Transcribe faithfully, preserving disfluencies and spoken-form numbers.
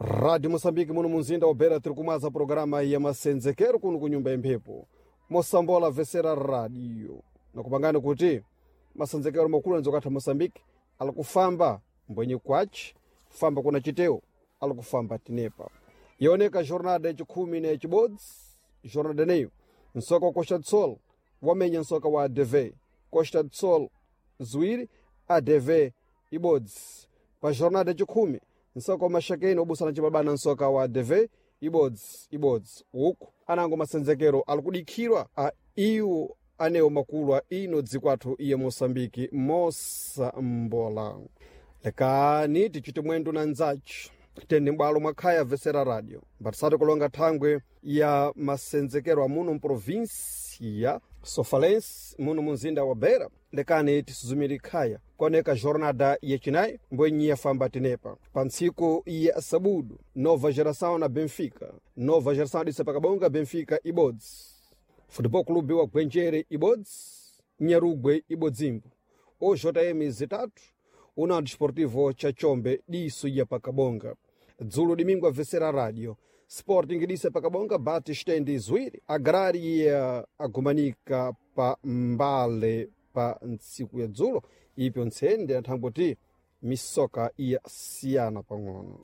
Rádio Moçambique muno munzinda wa Beira tiri kumwaza programa ya masenzekero kuno ku nyumba yemphepo mosambola vesera radio nakupangani kuti masenzekero makulu anzokatha Moçambique alikufamba mbwenye kwachi famba kuna chiteo alikufamba tinepa ioneka jornada yachikhumi na yachibodzi jornada neyo nsoka wa Costa do Sol wamenya nsoka wa A D V Costa do Sol ziwiri, A D V ibodzi. Pa jornada yachikhumi nsoka wa Maxakeni wabusana chibabana nsoka wa A D V ibodzi ibodzi. Uku anango masenzekero alikudikhirwa a iwo anewo makulu a ino dziko athu iye Moçambike mosambola. Lekani tichite mwendo na nzachu tende m'bwalo mwakhaya vesera radio mbatisati kulonga thangwe ya masenzekero amuno mprovinsia Sofalense muno munzinda wa Beira. Lekani tisuzumire khaya koneka jornada yachinayi mbwenyi yafamba tenepa pa ntsiku ya sabudu: Nova Geração na Benfica, Nova Geração disa pakabonga, Benfica ibodzi, Futebol Clube wa Gwenjere ibodzi, Nyarugwe ibodzimbo, O J M zitatu, União Desportivo cha Chombe diso ya pakabonga. Dzulo domingo avesera radio, Sporting disa pakabonga bate stendi ziwiri, Agraria agumanika pa mbale pa ntsiku ya dzulo. Ipyo ntsende anthangoti misoka iyasiyana pang'ono.